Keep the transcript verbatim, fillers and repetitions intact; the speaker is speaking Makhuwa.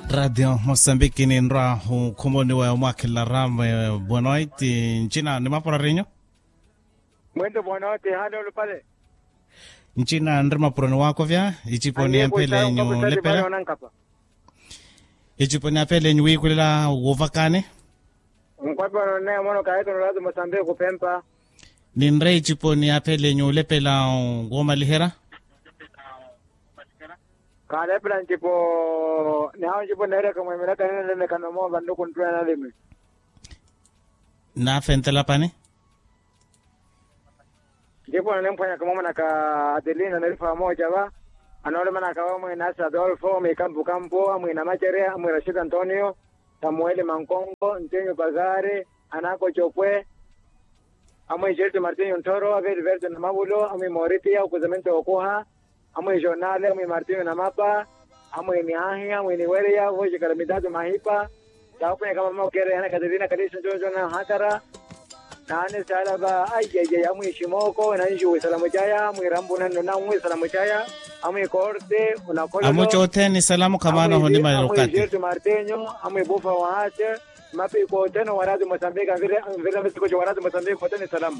Radio mosambiki ninrwa okhumoniwa omwakhelela rame. Bonoiti ncina ni mapurarinyu. Mwento bonoiti hale olupale. Ncina nri mapuroni wakovya icipo ni amphelenyu lepela. Icipo ni amphelenyu wiikulela wovakani. Nkwapelo nne mono kaekeno lati mosambiki kupempa. Ninre icipo ni aphele nyuulepela. Woomaliherya. Kaalepela ncipo nihawo ncipo neereka mwemelaka ninenenekano moova nluku nttuna nalimi. Naafentela pani. Ncipo nanimphwanyaka mwamanaka adelina nerifa amooca va. Anoolomanaka va mwene asa adolfo mwikampukampu amwina macerya amwina sita antonio, samueli mankongo ntenyu pazari, anako copwe, amwini jerti martinyo nthoro aveliverto na mavulo amwini moritiya okuzamento okuha, amwini jornale amwini martinyo na mapa, amwini ahi amwini weriya vojikala mitatu mahipa. Takunyaka mama okere ana katerina kalisa njonjo na hatara. Nani sala va aiyaiya amwini shimoko nanjuwi salamu caya amwini rambu nanno nanwi salamu caya. Amwini korte unakololo. Amucotheni salamu khamana honimala olukati. Amwini jerti martinyo amwini bufa wahase. Mapiku othene owarati mosambika nvirira misiku cowarati mosambika othene salama.